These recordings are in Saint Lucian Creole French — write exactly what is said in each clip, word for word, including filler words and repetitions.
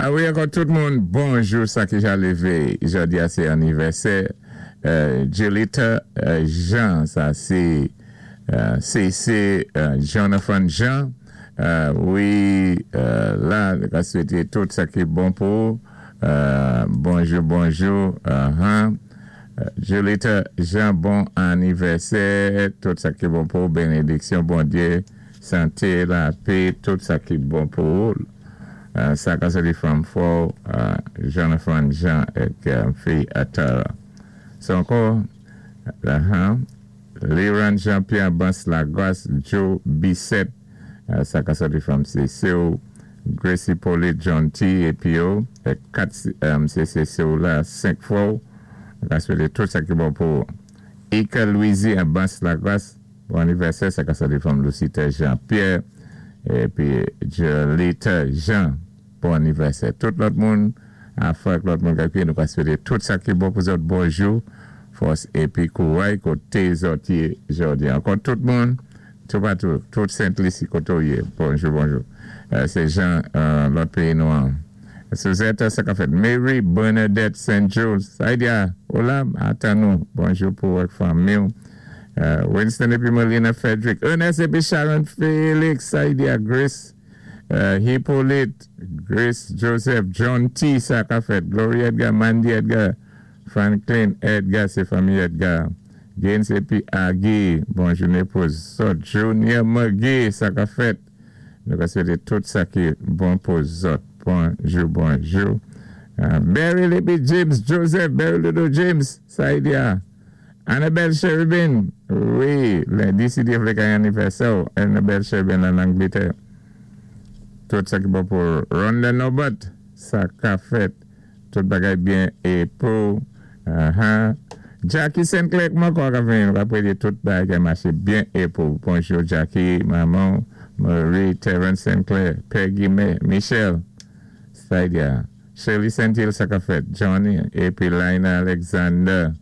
A wi, ankò tout moun, bonjou, sa ki ja lévé. Jòdi a sé anivèsè. Euh, Julita euh, Jean, sa sé euh, C C euh, Jonathan Jean. Euh, wi, euh, la, ka swété tout sa ki bon pou. Euh, bonjou, bonjou. Uh-huh. Euh, Julita Jean, bon anivèsè. Tout sa ki bon pou, bénédiksyon, Bondyé, santé, lapè, tout sa ki bon pou. Euh, sa ka soti from for euh, Jonathan Jean èk euh, fi Atara. So ankò, uh-huh, Liran Jean-Pierre Bas Lagos, Joe Bissett, euh, sa ka soti from C C O, Gracie Paulie John T. épi yo, èk kat um, C C C la, senk fwa, ka swété tout sa ki bon pou Ika Louisi à Bas Lagos, bon anivèsè, sa ka soti from Lucita Jean-Pierre, épi Jolita Jean, bon anivèsè. Tout lòt moun, a lòt moun ki nou ka swété tout sa ki bon pou zòt, bonjou, fòs épi kouray koté zòt yé jòdi. Ankò tout moun, tout patou, tout Sent Lisi koté ou yé. Bonjou, bonjou. Euh, sé jan euh, lòt péyi nou an. Suzette, sa ka fèt. Mary Bernadette Saint Jules. Saïdia, hola, atan nou. Bonjou pou wèk fanmi. Euh, Winston épi Melina Frederick. Ernest épi Sharon Félix. Saïdia Grace. Euh, Hippolyte, Grace Joseph, John T. Sa ka fèt. Gloria Edgar, Mandy Edgar, Franklin Edgar, sé fanmi Edgar. Gaines épi Agui, bonjou pou zòt. Junior McGee, sa ka fèt. Nou ka swété tout sa ki bon pou zòt. Bonjou, bonjou. Uh, Barry épi James Joseph, Barry Ludo James, Saïdia. Annabelle Sheridan, wi, lendi si Dye vlé gen anivèsè, Annabelle Sheridan an Anglétè. Tout sa ki bon pou Ronda Norbert, sa ka fèt. Tout bagay byen é pou uh-huh. Jackie Sinclair, kouman kwa ka vin, apwé di tout bagay maché byen é pou. Bonjou Jackie, maman, Marie, Terence Sinclair, Peggy Michel, Saïdia, Shirley Sentil, sa ka fèt, Johnny, épi Lina Alexander.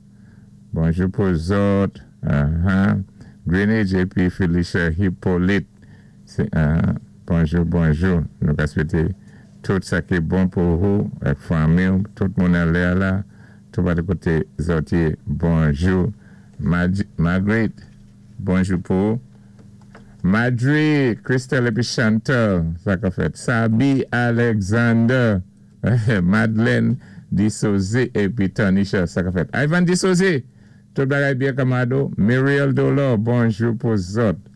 Bonjou pou zòt, uh-huh. Greenwich épi Felicia Hippolyte. Uh, bonjou, bonjou. Nou ka swété tout sa ki bon pou ou, èk fanmi, tout moun anlè la, tout pa koté zòt yé, bonjou. Margaret, bonjou pou ou. Madri, Christelle épi Chantal, sa ka fèt. Sabi Alexander, Madeleine Disosé épi Tanisha, sa ka fèt. Ivan Disosé, tout bagay byen kamado. Muriel Dolor, bonjou pou zòt.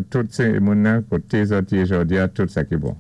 Tout sé moun koté zòt yé jòdi a, tout sa ki bon.